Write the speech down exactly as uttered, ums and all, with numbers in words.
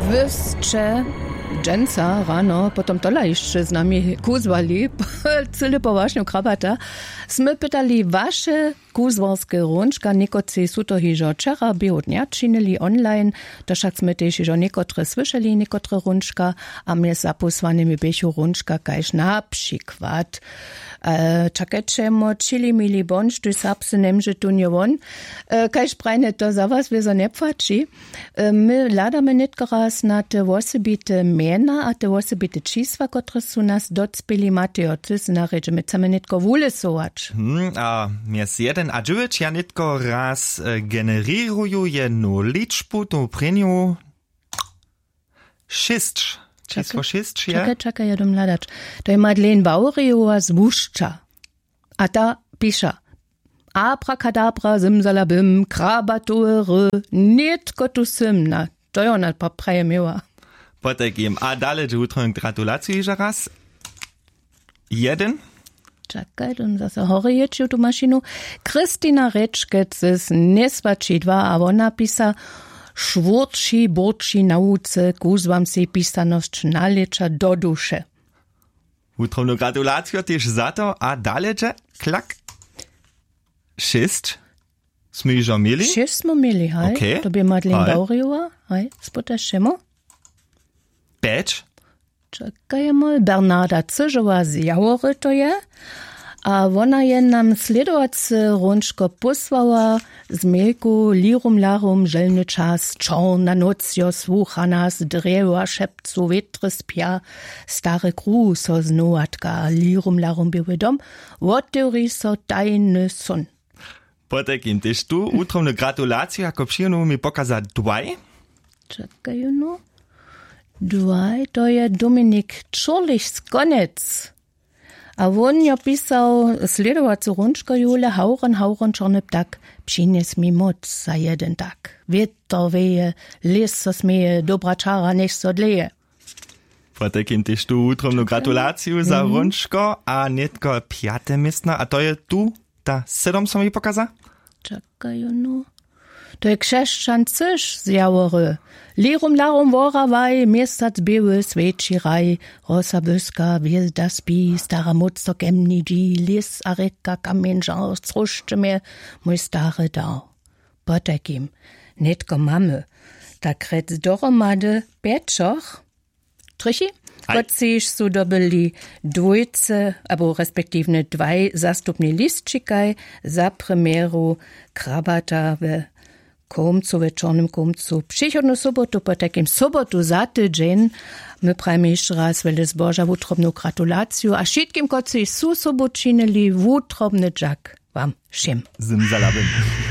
Wy sće dźensa rano potom tola hišće z nami kuzłali cyle po wašnju krabata. Smy pytali waše kuzłarske hrónčka, někotři su to hižo wčera běhu dnja činili online. To wšak smy tež hižo někotre słyšeli, někotre hrónčka. A mjez zapósłanymi běchu hrónčka kaž na přikład, e, čakajćemo, čili mili bądź, štóž serbsce njemóže tón je won. E, kaž prajne to za was wězo njepłaći. E, my hladamy nětko raz na te wosebite mjena a te wosebite čisła, kotrež su nas docpěli. Matejo, ty sy na rědźe, my chcemy nětko wulesować. Hmm, a mjez jedyn a dźewjeć ja nětko raz e, generěruju jednu ličbu, tu prěnju šěsć. Čisło šěsć je. Čakaj, čakaj, ja dom hladać. To je Madeleine Wawrijowa z Łušća. A ta piša: Abrakadabra, zymzalabym, krabatowe ry, nětko tu sym. Na to je ona pa-, praje měła. Potajkim. A dale dźe wutrobnu gratulaciju hižo raz. Jedyn. Čakaj, to zaso horje jětši tu mašinu. Kristina Rěčkec z Njeswaći dwa a wona pisa: Šwórći, bórći na łuce, kuzłam sej pisanosć nalěća do duše. Wutrobnu gratulaciju tež za to a dale dźe klak. Šěsć smy hižo měli. Šěsć smy měli, haj. Okay. To bě Madeleine Wawrijowa, haj, spytaš šemu. Pjeć. Čakajemo, Bernarda Cyžowa z Jawory to je. A wona je nam slědowace hrónčko pósłała z mejku: Lirum larum, želny čas, čorna nóc jo słucha nas, drjewa šepcu, wětry spja, stary kruh so znowatka, lirum larum, běły dom, wotewri so tajny són. Potajkim tež tu wutrobnu gratulaciju jako přijenu mi pokaza dwaj. Čakaj jónu. Dwaj, to je Dominik Čurlich z Konec. A wón jo pisał slědowacu hrónčko: Jule, hawron, hawron, čorny ptak, přinjes mi móc za jedyn tak. Wětr wěje, lěs so směje, dobra čara njech so dleje. Potajkim tež tu wutrobnu gratulaciju za hrónčko a nětko pjate městno, a to je tu ta sydom so mi pokaza. Čakaj jónu. To je Křesćan Cyž z Jawory. Lirum larum worawaj, měsac běły swjeći raj, rosa błyska, hwězda spi, stara móc so kemni dźi, lěs a rěka, kamjeń žar, sróšće mje, mój stary dar. Potajkim, nětko mamy tak rjec dohromady pjećoch, trychi, kotřiž su dobyli dwójce abo respektiwnje dwaj zastupni lisćikaj za premjeru krabata we Kołmcu, we Čornym Kołmcu, přichodnu sobotu, potajkim sobotu za tydźeń. My prajimy hišće raz wjele zboža, wutrobnu gratulaciju a wšitkim, kotřiž su sobu činili, wutrobny dźak wam wšěm. Zymzalabym.